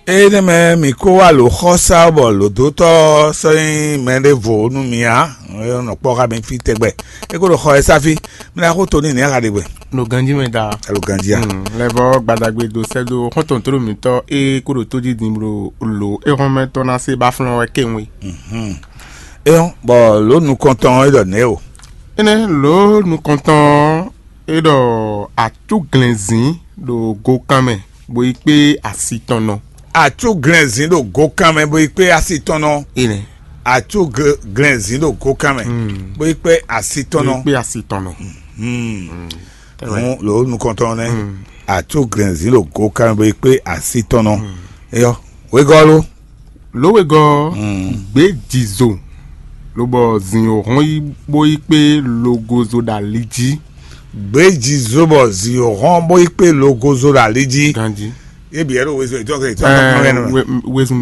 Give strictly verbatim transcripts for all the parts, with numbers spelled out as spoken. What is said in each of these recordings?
Énɛ́ mɛ mǐ kó wá lǒ xɔ sá bɔ lǒdótɔ́ sɔ́ nyí mɛ ɖěvo nú mì ǎ. É nɔ kpɔ́ xá mi fí tɛgbɛ. É kó ɖo xɔ ɛ sá fí. Mi ná xó to n'i nɛ̌ xa ɖe gbɛ? Ɖo ganjí mɛ da. Alo ganjí a? Lɛvɔ gbadagbe do sɛ́ dó xɔ́ntɔn tló mǐtɔn e kó ɖo tó jí din blo lǒ é hɔn mɛ tɔn ná se ba flɔ́n wɛ kéwun é. Éyɔ́, bɔ lǒ nukɔntɔn é ɖɔ nɛ̌ o? Énɛ́ lǒ nukɔntɔn é ɖɔ acúglɛ̌nzín ɖo gokan mɛ, bó yi kpé asi tɔn nɔ. Acúglɛ̌nzín ɖo gokan mɛ bó yi kpé asi tɔn nɔ. Énɛ́. Acúglɛ̌nzín ɖo gokan mɛ bó yi kpé asi tɔn nɔ. Kpé asi tɔn nɔ. Hǔn lǒ nukɔntɔn nɛ́. Acúglɛ̌nzín ɖo gokan mɛ bó yi kpé asi tɔn nɔ. Éyɔ́, wegɔ́ ló. Lǒ wegɔ́ gbějizo, lobɔ zǐn yǒhɔ́n yi bó yi kpé logozo ɖo ali jí. Gbějizo bɔ zǐn yǒhɔ́n bó yi kpé logozo ɖo ali jí. Ganjí. Yé bǐ wɛ ɖo wezun ètò ọkọ ètò ọkọ mɛ nɔ. Wezun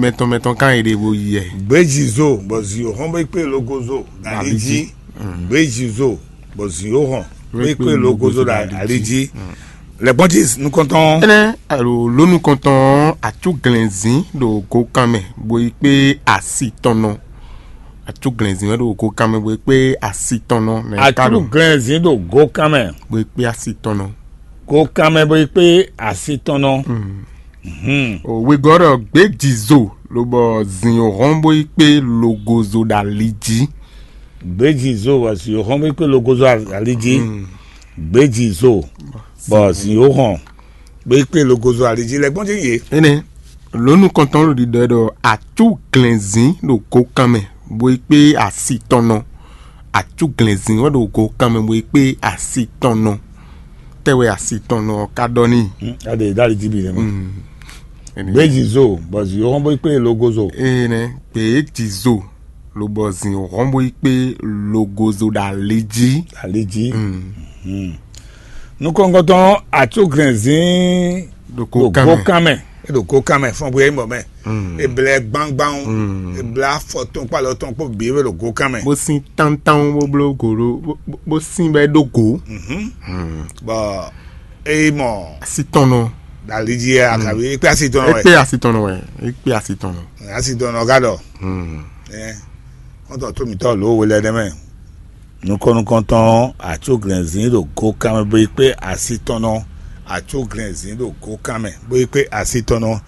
mɛtɔn mɛtɔn kan yi ɖe bo yi yɛ. Gbějizo bɔ zǐn yǒhɔ́n bó yi kpé logozo ɖo ali jí. Gbějizo bɔ zǐn yǒhɔ́n bó yi kpé logozo ɖo ali jí. Lɛ̌gbɔ́njí nukɔntɔn. Énɛ́ alo lǒ nukɔntɔn ɔ́, acúglɛ̌nzín ɖo gokan mɛ bó yi kpé asi tɔn nɔ. Acúglɛ̌nzín wɛ ɖo gokan mɛ bó yi kpé asi tɔn nɔ. Nɛ̌ ka ɖo? Acúglɛ̌nzín ɖo gokan mɛ. Bó yi kpé asi tɔn nɔ. Gokan mɛ bó yi kpé asi tɔn nɔ. Wegɔ́ ɖɔ gbějizo lobɔ zǐn yǒhɔ́n bó yi kpé logozo ɖo ali jí. Gbějizo bɔ zǐn yǒhɔ́n bó yi kpé logozo ali jí. Gbějizo bɔ zǐn yǒhɔ́n bó yi kpé logozo ali jí. Lɛ̌gbɔ́njí yě. Énɛ́ lǒ nukɔntɔn ɖo ɖiɖɔ ɖɔ acúglɛ̌nzín ɖo gokan mɛ bó yi kpé asi tɔn nɔ. Acúglɛ̌nzín wɛ ɖo gokan mɛ bó yi kpé asi tɔn nɔ. Tɛ́ wɛ asi tɔn nɔ ɔ́ ka ɖɔ n'i? Aɖe ɖo ali jí bǐ nɛ́ mɛ. Gbějizo bɔ zǐn yǒhɔ́n bó yi kpé logozo. Énɛ́ gbějizo lobɔ zǐn hɔn bó yi kpé logozo ɖo ali jí. Ali jí. Nukɔngɔntɔn acúglɛ̌nzín ɖo gokan mɛ. É ɖo gokan mɛ fɔn bó yɛ nyí mɔ̌ mɛ. È blɛ gbangban. È blɛ afɔ tɔn kpó alɔ tɔn kpó bǐ é ɖo gokan mɛ. Bó sín tántán bó bló go ɖó bó sín bɛ́ ɖó go. Bɔ é yi mɔ asi tɔn nɔ. Ɖo ali jí é akabi é kpé asi tɔn nɔ é wɛ. Kpé asi tɔn nɔ wɛ é kpé asi tɔn nɔ. Asi tɔn nɔ ka ɖɔ. Ɛ kɔntɔ tó mǐtɔn lǒ we lɛ nɛ mɛ. Nukɔn nukɔntɔn acúglɛ̌nzín ɖo gokan mɛ bó yi kpé asi tɔn nɔ. Acúglɛ̌nzín ɖo gokan mɛ bó yi kpé asi tɔn nɔ.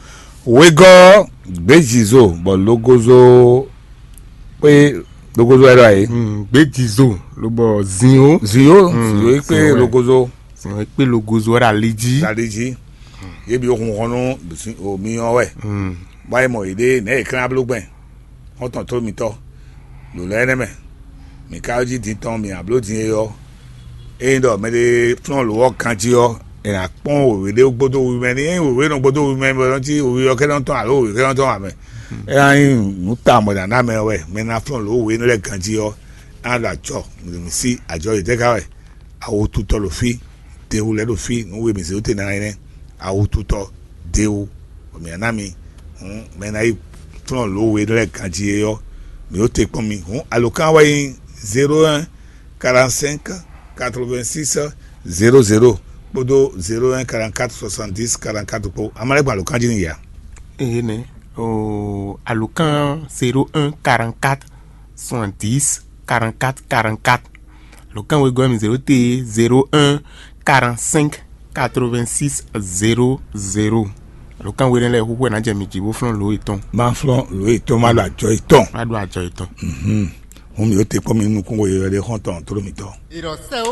Wegɔ́ gbějizo bɔ logozo kpé logozo wɛ ɖɔ ayé. Gbějizo lobɔ zin o. Zin o zin o yi kpé logozo. Zin o yi kpé logozo wɛ ɖo ali jí. Ɖo ali jí. Yé bi hun hɔn nú omi ɔ́ wɛ. Bɔ ayé mɔ yěɖée nɛ̌ yě klán bló gbɛn. Xɔ́ntɔn tó mitɔ́, ɖo lɛ́ énɛ́ mɛ, mǐ ka jí din tɔn mǐ nǎ bló din é ɔ́, ényí ɖɔ mɛɖé flɔ́n lǒ ɔ́ ganjí ɔ́, è nǎ kpɔ́n wěwé ɖé gbódó wi mɛ ní. Ényí wěwé nɔ gbódó wi mɛ bɔ nɔ́ cí wi ɔ́ kɛ nɔ tɔn alo wě kɛ nɔ tɔn ǎ mɛ. É ná nyí nǔ ta mɔ̌ ná ná mɛ wɛ mɛ ná flɔ́n lǒ wěwé lɛ́ɛ ganjí ɔ́, é ná ɖo acɔ mǐ sí ajɔ yětɛ́ ká wɛ. Awututɔ ɖo fí, dewu lɛ́ɛ ɖo fí, nǔ we mǐ zé wú te ná nyí nɛ́. Awututɔ, dewu, bɔ mǐ ná ná mi. Hǔn mɛ e ná yi flɔ́n lǒ we lɛ́ɛ ganjí é ɔ́, mǐ ó te kpɔ́n mi. Hǔn alǒkan wɛ nyí zéro un quarante cinq quatre vingt six zéro zéro kpódó zéro un quarante quatre soixante dix quarante quatre kpó. Amálɛ́gbɔn alǒkan jí n'i ya. Ee nɛ, oo, alǒkan zéro un quarante quatre soixante dix quarante quatre quarante quatre. Alǒkan wegɔ́ mi zéro te zéro un quarante cinq quatre vingt six zéro zéro. Alǒkan we lɛ́ɛ xúxú ɛ ná jɛ mi jí bó flɔ́n lǒ yětɔn. Má flɔ́n lǒ yětɔn, má ɖo ajɔ yětɔn. Má ɖo ajɔ yětɔn. Hǔn mi ó te kpɔ́n mi nú nukúnxó yeyɔ́ ɖé xɔ́ntɔn tló mitɔn.